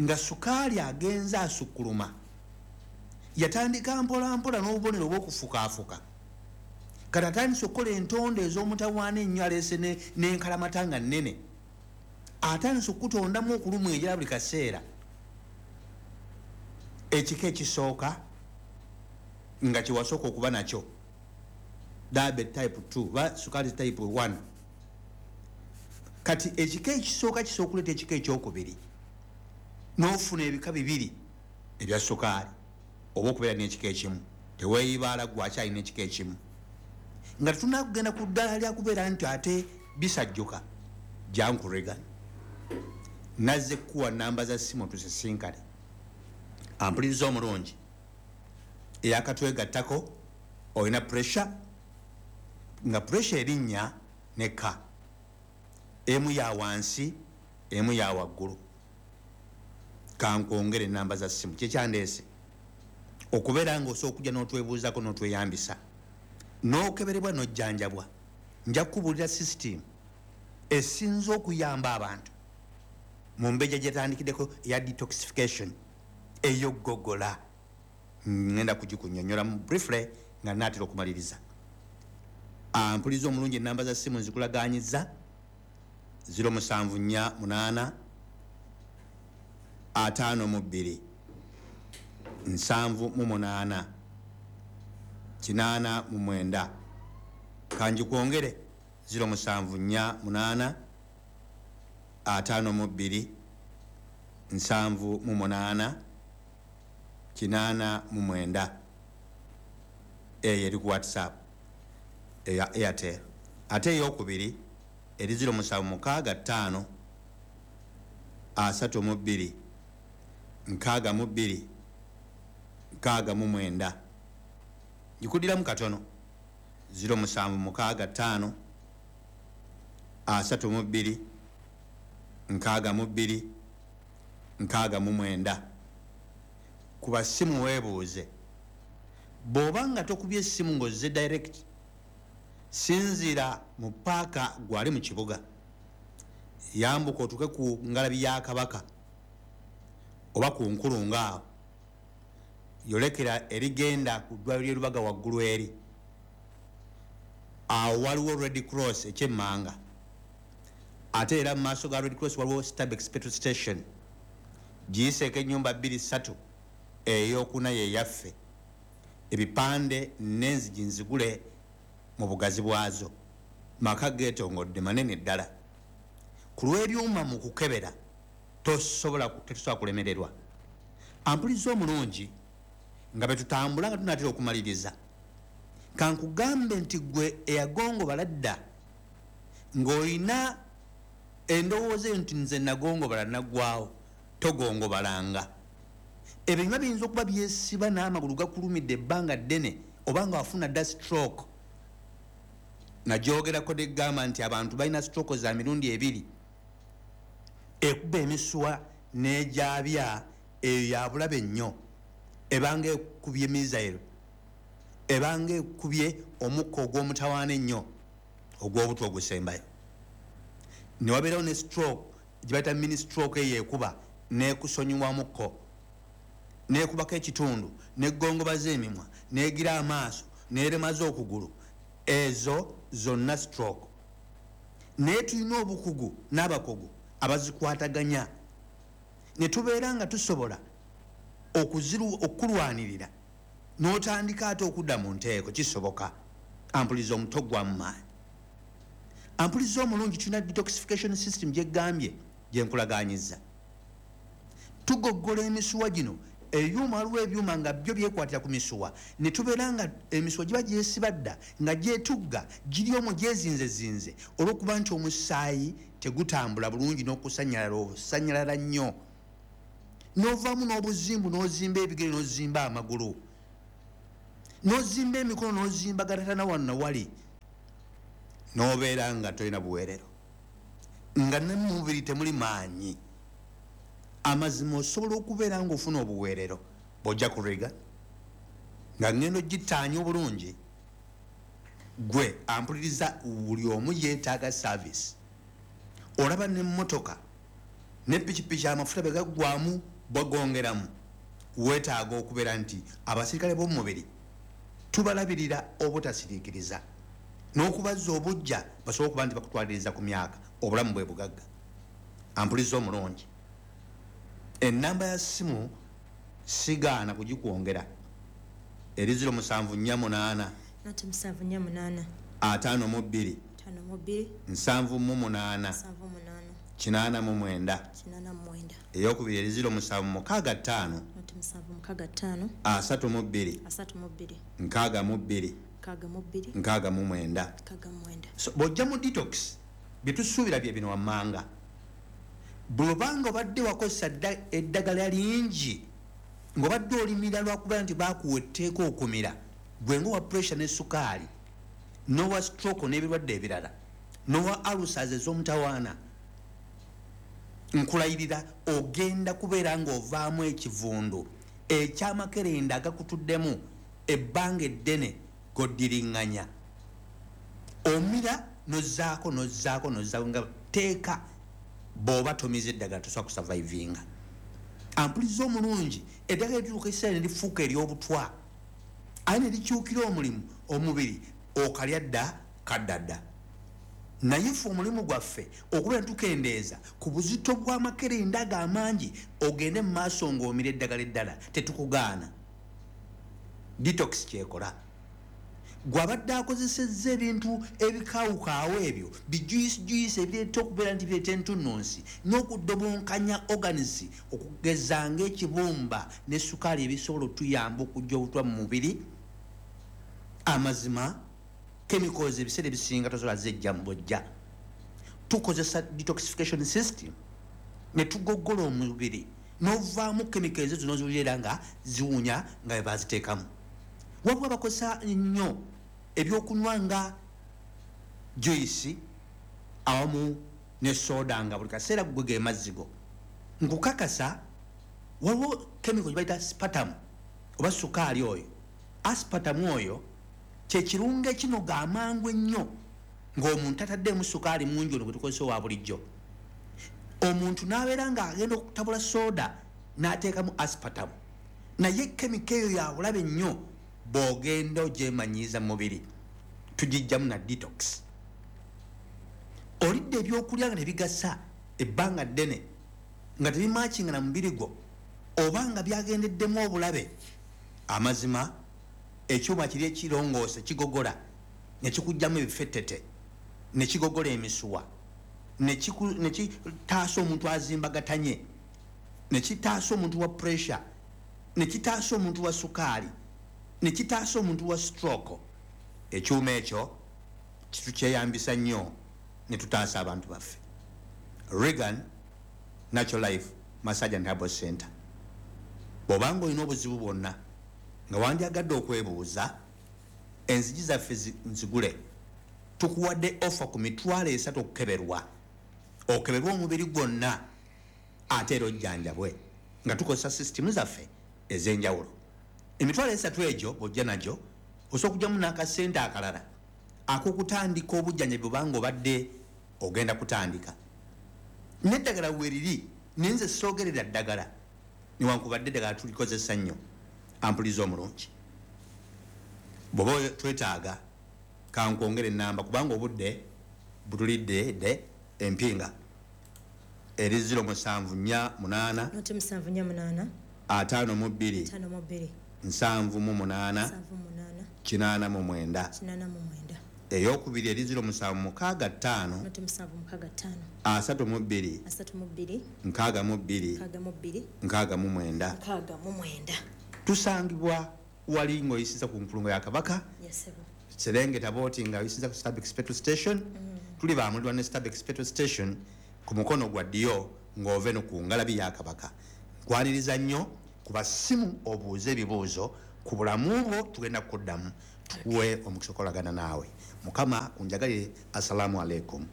nga sukaali agenze asukkuluma, yatandika mpola mpola n'obubonero obw'okufukaafuka. Kati atandise okukola entondo ez'omutawaana ennyo, aleese n'enkalamata nga nnene. Atandise okutondamu okulumwa enjala buli kaseera. Ekika ekisooka nga kye wasooka okuba nakyo, diabetes type two ba sukaali type one. Kati ekika ekisooka kisobola okuleeta ekika ekyokubiri, n'ofuna ebika bibiri ebya sukaali, oba okubeera n'ekika ekimu. Teweeyibaala gwe akyalina ekika ekimu. Nga tetunnakugenda ku ddala lya kubeera nti ate bisajjuka, jangu Reagan. Nazze kukuwa nnamba za ssimu tusisinkane. Ampuliriza omulungi, eyakatwegattako, olina pressure, nga pressure erinnya nekka, emu ya wansi emu ya waggulu. Kankwongere ennamba za ssimu. Kyekyandeese okubeera ng'osobola okujja n'otwebuuzaako n'otweyambisa, n'okeberebwa n'ojjanjabwa. Nja kukubuulira system esinza okuyamba abantu mu mbejja gyetandikiddeko eya detoxification, ey'okugoggola. Ngenda kugikunnyonnyola briefly nga naatera okumaliriza. Ampuliza omulungi, ennamba za ssimu nzikulaganyiza: zero musanvu nnya munaana ataano mu bbiri nsanvu mu munaana kinaana mu mwenda. Kanjikwongere: zero musanvu nnya munaana ataano mu bbiri nsanvu mu munaana kinaana mu mwenda. Eyo eri ku WhatsApp eya Airtel. Ate eyokubiri eri zero musanvu mukaaga ttaano asatu mu bbiri nkaaga mu bbiri nkaaga mu mwenda. Ngikuddiramu katono: zero musanvu mukaaga ttaano asatu mu bbiri nkaaga mu bbiri nkaaga mu mwenda. Kuba ssimu weebuuze. Bw'oba nga tokubye essimu ng'ozze direct, sinziira mu paaka gwali mu kibuga, yambuka otuuke ku ngalabi ya Kabaka oba ku nkulungo awo, yolekera erigenda ku ddwaliro ly'e Lubaga waggulu eri. Awo waliwo Red Cross ekyemmanga, ate era mu maaso ga Red Cross waliwo Stabex petrol station. Giyiseeko ennyumba bbiri ssatu, eyokuna ye yaffe. Ebipande n'enzigi nzigule mu bugazi bwazo. Maka geetongodde manene ddala. Ku lw'ebyuma mu kukebera tosobola, tetusobola kulemererwa. Ampuliza omulungi, nga bwe tutambula nga tunaatera okumaliriza, kankugambe nti gwe eyagongobala dda, ng'olina endowooza eyo nti nze nagongobala naggwawo, togongobalanga. Ebinywa biyinza okuba byesiba n'amagulu gakulumidde ebbanga ddene, oba nga wafuna dda stroke. Nagyogerako negamba nti abantu balina stroke za mirundi ebiri, ekuba emisuwa n'egyabya, eyo yabulabe nnyo. Ebanga ekubye missile, ebanga ekubye omukka ogw'omutawaana ennyo ogw'obutwa ogusembayo. Ne wabeerawo ne stroke gye bayita mini stroke, eyo ekuba n'ekusonyiwamukko, n'ekubako ekitundu, n'eggongobaza emimwa, n'egira amaaso, n'eremaza okugulu. Ezo zonna stroke. Naye tulina obukugu n'abakugu abazikwataganya, ne tubeera nga tusobola okukulwanirira n'otandika ate okudda mu nteeko. Kisoboka. Ampuliza omuto gwa mu maanyi, ampuliza omulungi, tulina detoxification system gyegambye. gyenkulaganyiza. Tugoggola emisuwa gino, ebyuma, waliwo ebyuma nga byo byekwatira ku misuwa, ne tubeera nga emisuwa giba gyesiba dda, nga gyetugga, giri omwo gyezinzezinze olw'okuba nti omusaayi tegutambula bulungi n'okusanyalala, osanyalala nnyo, n'ovaamu n'obuzimbu, n'ozimba ebigere, n'ozimba amagulu, n'ozimba emikono, n'ozimba gatatana wano na wali, n'obeera nga tolina buweerero, nga ne mu mubiri temuli maanyi. Amazima osobola okubeera ng'ofuna obuweerero bw'ojja ku Reagan, nga ngendo gitaanya obulungi. Gwe ampuliriza, buli omu yeetaaga service. Olaba n'emmotoka ne pikipiki amafuta bwe gaggwamu bwagongeramu, weetaaga okubeera nti abasirikale b'omubiri tubalabirira obutasiriikiriza n'okubazza obujja, basobole okuba nti bakutwaliriza ku myaka. Obulamu bwe bugagga. Ampuliza omulungi, ennamba ya ssimu sigaana kugikwongera, eri ziro musanvu nnya munaana Nati musanvu nnya munaana ataano mu bbiri ttaano mu bbiri nsanvu mu munaana nsanvu mu munaana kinaana mu mwenda kinaana mu mwenda. Eyokubiri eri ziro musanvu mukaaga ttaano Nati musanvu mukaaga ttaano asatu mu bbiri asatu mu bbiri nkaaga mu bbiri nkaaga mu bbiri nkaaga mu mwenda. nkaaga mu mwenda. So bw'ojja mu detox, bye tusuubira bye bino wammanga. Bw'obanga obadde wakozesa eddagala lingi, ng'obadde olimira lwakubeera nti baakuwa etteeka okumira, gwe ng'owa pressure ne sukaali, n'owa stroke n'ebirwadde ebirala, n'owa ulcers ez'omutawaana, nkulayirira ogenda kubeera ng'ovaamu ekivundu ekyamakerenda agakutuddemu ebbanga eddene g'oddiriŋŋanya. Omira n'ozzaako n'ozzaako n'ozzaako nga teeka, bw'oba tomize eddagala tosobola kusurvivinga. Ampuliza omulungi, eddagala erituuka ekiseera ne lifuuka ery'obutwa, aye ne likyukira omulimu omubiri okalya dda kadda dda. Naye ffe omulimu gwaffe okubeera tukendeeza ku buzito bw'amakerenda ago amangi, ogende mu maaso ng'omira eddagala eddala, tetukugaana. Detox kyekola. Gw'abadde akozesezza ebintu ebikawukaawo ebyo bijuyisijuyisi ebireeta okubeera nti bireeta entunnunsi n'okudobonkanya organs, okugeza ng'ekibumba ne sukaali ebisobola otuyamba okuggya obutwa mu mubiri. Amazima chemicals ebiseera ebisinga tosobola zejja mu bwojja. Tukozesa detoxification system ne tugoggola omubiri n'ovaamu chemicals ezo n'oziwulira era nga ziwunya nga bwe baziteekamu. Waliwo abakozesa nnyo ebyokunywa nga juice awamu ne soda nga buli kaseera gwe ge mazzi go. Nkukakasa waliwo chemical gye bayita aspartame oba sukaali oyo. Aspartame oyo kye kirungo ekinoga amangu ennyo ng'omuntu ataddemu sukaali mungi ono gwe tukozesa owa bulijjo. Omuntu n'abeera ng'agenda okutabula soda n'ateekamu aspartame, naye chemical eyo ya bulabe nnyo bw'ogenda ogyemanyiiza mu mubiri. Tugijjamu na detox. Olidde ebyokulya nga tebigasa ebbanga ddene, nga tebimakinga na mubiri gwo, oba nga byagendeddemu obulabe, amazima ekyuma kiri ekirongoose kigogola ne kikuggyamu ebifettete, ne kigogola emisuwa, ne kitaasa omuntu azimbagatanye, ne kitaasa omuntu wa pressure, ne kitaasa omuntu wa sukaali, ne kitaasa omuntu wa stroke. Ekyuma ekyo kitukyeyambisa nnyo ne tutaasa abantu baffe. Reagan Natural Life Massage and Herbal Center. Bw'obanga olina obuzibu bwonna nga wandyagadde okwebuuza, enzigi zaffe nzigule. Tukuwadde offer ku mitwalo esatu okukeberwa, okeberwa omubiri gwonna ate era ojjanjabwe nga tukozesa sisitimu zaffe ez'enjawulo. Emitwalo esatu egyo bw'ojja nagyo osobola okugyamu n'akasente akalala ak'okutandika obujjanjabi bw'obanga obadde ogenda kutandika. N'eddagala weeriri, naye nze soogerera ddagala, newankubadde eddagala tulikozesa nnyo. Ampuliza omulungi, bw'oba twetaaga kankwongere ennamba kubanga obudde butulidde dde empinga. Eri ziro musanvu nnya munaana Noti musanvu nnya munaana ataano mu bbiri ttaano mu bbiri nsanvu mu munaana nsanvu mu munaana kinaana mu mwenda. kinaana mu mwenda. Eyokubiri eri ziro musanvu mukaaga ttaano asatu mu bbiri nkaaga mu bbiri nkaaga mu mwenda. Tusangibwa wali ng'oyisiza ku nkulungo ya Kabaka, Serengeta booti nga oyisiza ku Stabex petrol station. mm. Tuli bamulirwa ne Stabex petrol station ku mukono gwa ddyo ng'ove no ku ngalabi ya Kabaka. Nkwaniriza nnyo kuba simu obuuze ebibuuzo ku bulamu bwo, tugenda kukuddamu tukuwe omukisa okolagana naawe. Mukama kunjagalire. Assalamu alaikum.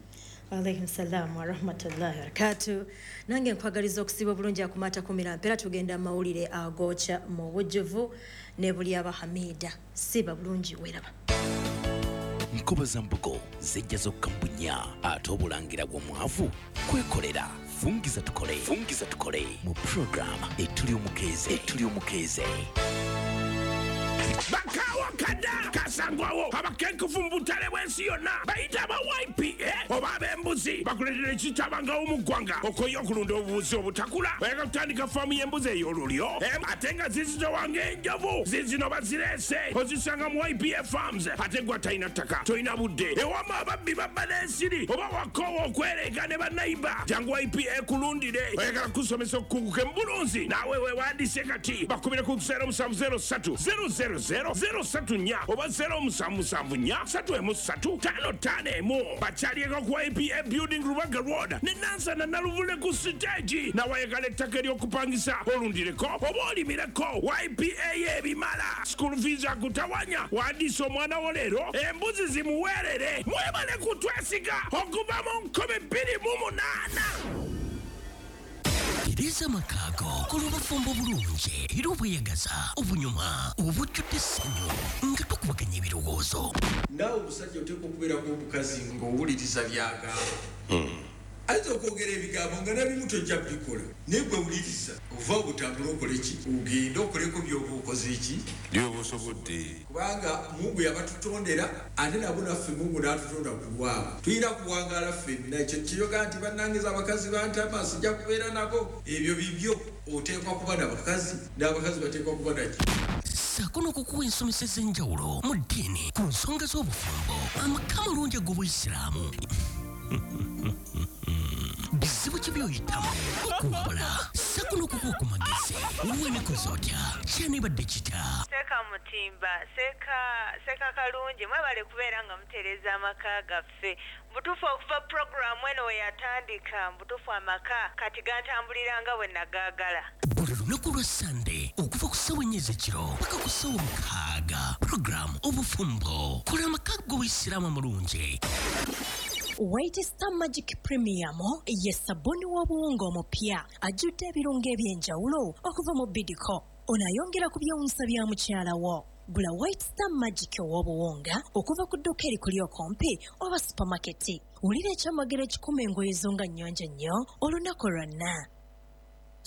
Waalaikum salam wa rahmatullahi wa barakatuh. Nange nkwagaliza okusiba obulungi akumata kumira mpera tugenda mawulire agokya mu bujjuvu ne buli aba Hamida. Siba bulungi weraba. Nkoba za mbugo zijja zokka mbunya ate obulangira bw'omwavu kwekolera. Fungiza tukole, fungiza tukole mu program etuli omukeeze, etuli omukeeze. Bakawa kada kasangwawo abakenkufu mu butale bw'ensi yonna bayita aba Y P A oba ab'embuzi bakuleetera ekitabangawo mu ggwanga okoye okulunda obubuzi obutakula. Oyagala kutandika faamu y'embuzi ey'olulyo ate nga zizitowa ng'enjovu, zizino bazireese ozisanga mu Y P A Farms. Ate gwe atalina ttaka, tolina budde, ewama ababbi babba n'ensiri oba wakoowa okwereega ne bannayiba, jangu Y P A kulundire. Oyagala kusomesa okukunguka mu bulunzi naawe weewandise kati bakubire ku zero musanvu zero ssatu zero zero zero zero ssatu nnya oba zero musanvu musanvu nnya ssatu emu ssatu ttaano ttaano emu. Bakyalieko ku Y P A Building Rubaga Road ne Nansana Naluvule ku siteegi. Nawayagala ettaka ery'okupangisa olundireko oba olimireko. Y P A y'ebimala. School fees akutawanya. Wandiisa omwana wo leero embuzi zimuweerere. Mwebale kutwesiga okuva mu nkumi bbiri mu munaana. Tereza amaka go kola obufumbo obulungi era obweyagaza obunyuma obujjudde essanyu nga tukubaganya ebirowoozo. Naawe omusajja oteekwa okubeerako omukazi ng'owuliriza by'agamba. Ayinza okwogera ebigambo nga nabimu tojja bikola, naye gwe wuliriza ova obutambula okole ki, ogende okoleko by'oba okoze ki by'oba osobodde, kubanga Mungu yabatutondera ate nabo naffe Mungu n'atutonda ku lwabwe. Tulina kuwangaala ffenna. Ekyo kiyoga nti bannange abakazi bantama sijja kubeera nabo, ebyo bibyo. Oteekwa kuba n'abakazi n'abakazi bateekwa kuba naki. Ssaako n'okukuwa ensomesa ez'enjawulo mu ddiini ku nsonga z'obufumbo, amaka amalungi ag'obuyisiraamu. Bizibu ki by'oyitamu okuwabula ssaako n'okukuwa ku magezi wenekoze otya kyanebadde kita. Seeka Mutimba, seeka seeka Kalungi, mwebale kubeera nga mutereeza amaka gaffe. Mbutuufu okuva puroguramu eno we yatandika, mbutuufu amaka kati gantambulira nga bwe nagaagala. Buli lunaku lwa Sande okuva ku ssaawa ennya ez'ekiro paka ku ssaawa mukaaga, puroguramu obufumbo kola amaka g'obuyisiraamu amalungi. White Star Magic Premium ye sabuni w'obuwunga omupya ajjudde ebirungo eby'enjawulo okuva mu Bidco. Ono ayongera ku byewuunyisa bya mukyala wo. Gula White Star Magic ow'obuwunga okuva ku dduuka erikuli okumpi oba supamaketi. Wulira ekyamagero ekikuma engoye zo nga nnyonjo nnyo olunaku lwonna.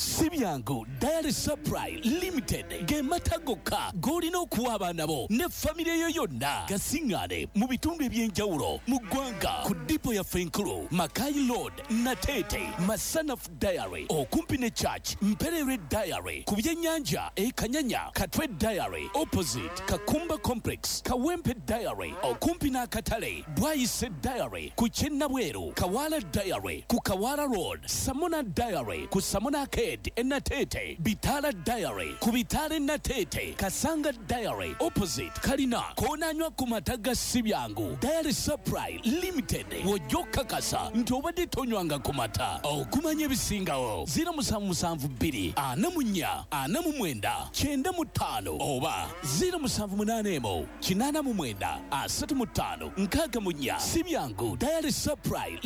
Si byangu Diary Supply Limited ge mata gokka g'olina okuwa abaana bo ne famire yo yonna gasiŋŋaane mu bitundu eby'enjawulo mu ggwanga ku dipo yaffe enkulu Makai Road, Nateete, Masanaf Diary okumpi ne Church, Mperere Diary ku byennyanja e Kanyanya, Katwe Diary opposite Kakumba Complex, Kawempe Diary okumpi n'akatale, Bwayise Diary ku Kyennabweru, Kawala Diary ku Kawala Road, Samona Diary ku Samona Arcade Enatete, Bitala Diary ku Bitale Natete, Kasanga Diary opposite Kalina, koonanywa ku mata ga Sibyangu. Diary Supply Limited wojja okukakasa nti obadde tonywanga ku mata. Okumanya ebisingawo ziro musanvu musanvu bbiri ana mu nnya ana mu mwenda kyenda mu ttaano oba ziro musanvu munaana emu kinaana mu mwenda asatu mu ttaano nkaaga mu nnya. Sibyangu Diary Supply